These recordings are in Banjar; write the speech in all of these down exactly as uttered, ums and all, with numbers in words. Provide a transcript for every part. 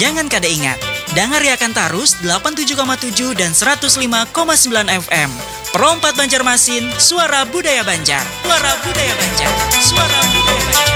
Jangan kada ingat, dangariakan tarus delapan tujuh koma tujuh dan seratus lima koma sembilan F M. Pro empat Banjarmasin, suara budaya Banjar. Suara budaya Banjar. Suara budaya Banjar.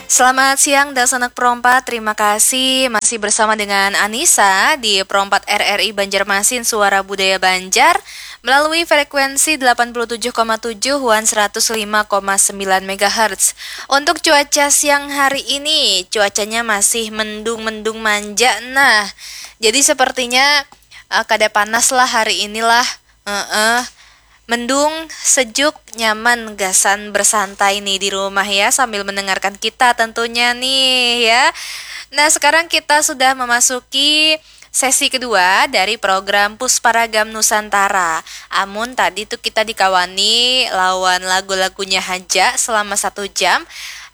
Selamat siang, Dangsanak Pro empat. Terima kasih masih bersama dengan Anissa di Pro empat R R I Banjarmasin, Suara Budaya Banjar, melalui frekuensi delapan puluh tujuh koma tujuh wan seratus lima koma sembilan megahertz. Untuk cuaca siang hari ini, cuacanya masih mendung-mendung manja. Nah, jadi sepertinya uh, kada panas lah hari inilah. Uh -uh. Mendung, sejuk, nyaman gasan bersantai nih di rumah ya, sambil mendengarkan kita tentunya nih ya. Nah, sekarang kita sudah memasuki sesi kedua dari program Pusparagam Nusantara. Amun tadi tuh kita dikawani lawan lagu-lagunya haja selama satu jam.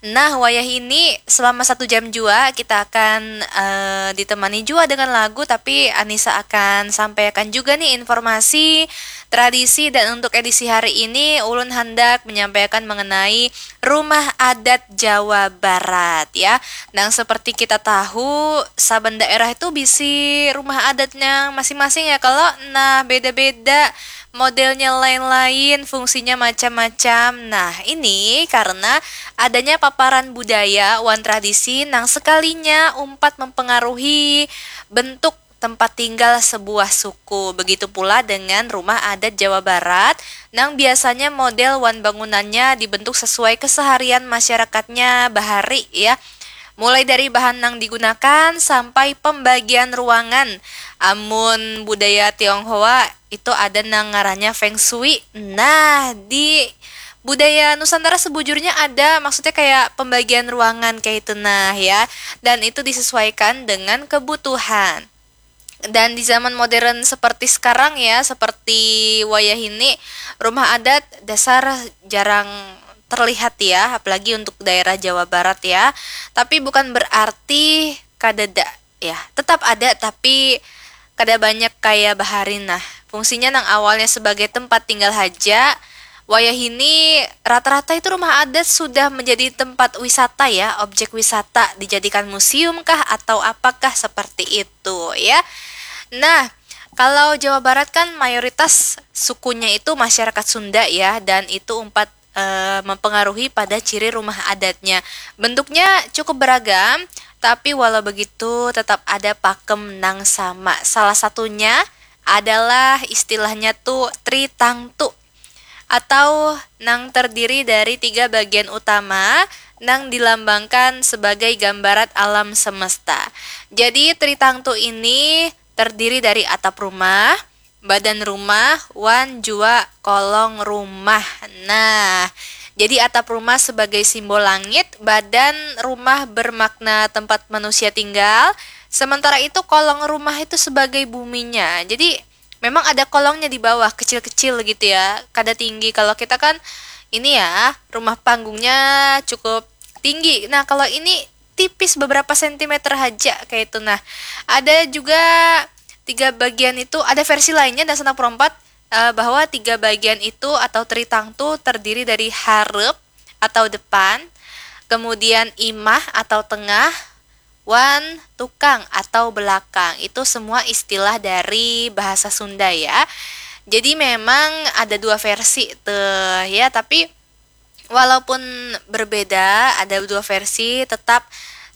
Nah, wayah ini selama satu jam jua kita akan uh, ditemani jua dengan lagu, tapi Anissa akan sampaikan juga nih informasi, tradisi, dan untuk edisi hari ini ulun handak menyampaikan mengenai rumah adat Jawa Barat ya. Nang seperti kita tahu, saban daerah itu bisi rumah adatnya masing-masing ya kalau. Nah, beda-beda modelnya lain-lain, fungsinya macam-macam. Nah, ini karena adanya paparan budaya wan tradisi nang sekalinya umpat mempengaruhi bentuk tempat tinggal sebuah suku. Begitu pula dengan rumah adat Jawa Barat nang biasanya model wan bangunannya dibentuk sesuai keseharian masyarakatnya bahari ya. Mulai dari bahan nang digunakan sampai pembagian ruangan. Amun budaya Tionghoa itu ada nang ngarannya feng shui. Nah, di budaya Nusantara sebujurnya ada, maksudnya kayak pembagian ruangan kayak itu nah ya. Dan itu disesuaikan dengan kebutuhan. Dan di zaman modern seperti sekarang ya, seperti wayah ini, rumah adat dasar jarang terlihat ya, apalagi untuk daerah Jawa Barat ya. Tapi bukan berarti kadada ya, tetap ada tapi kada banyak kaya bahari nah. Fungsinya nang awalnya sebagai tempat tinggal haja, wayah ini rata-rata itu rumah adat sudah menjadi tempat wisata ya, objek wisata, dijadikan museum kah atau apakah seperti itu ya. Nah, kalau Jawa Barat kan mayoritas sukunya itu masyarakat Sunda ya, dan itu umpat eh, mempengaruhi pada ciri rumah adatnya. Bentuknya cukup beragam, tapi walau begitu tetap ada pakem nang sama. Salah satunya adalah istilahnya tu Tri Tangtu atau nang terdiri dari tiga bagian utama nang dilambangkan sebagai gambaran alam semesta. Jadi Tri Tangtu ini terdiri dari atap rumah, badan rumah, wan jua kolong rumah. Nah, jadi atap rumah sebagai simbol langit, badan rumah bermakna tempat manusia tinggal, sementara itu kolong rumah itu sebagai buminya. Jadi memang ada kolongnya di bawah, kecil-kecil gitu ya, kada tinggi. Kalau kita kan ini ya, rumah panggungnya cukup tinggi. Nah, kalau ini tipis beberapa sentimeter haja kayak itu. Nah, ada juga tiga bagian itu, ada versi lainnya dan senang perompat uh, bahwa tiga bagian itu atau tritang tu terdiri dari hareup atau depan, kemudian imah atau tengah, wan tukang atau belakang. Itu semua istilah dari bahasa Sunda ya. Jadi memang ada dua versi tuh ya, tapi walaupun berbeda, ada dua versi, tetap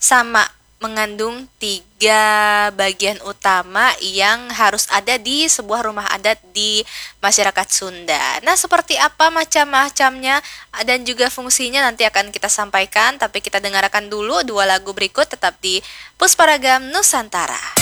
sama mengandung tiga bagian utama yang harus ada di sebuah rumah adat di masyarakat Sunda. Nah, seperti apa macam-macamnya dan juga fungsinya nanti akan kita sampaikan, tapi kita dengarkan dulu dua lagu berikut tetap di Pusparagam Nusantara.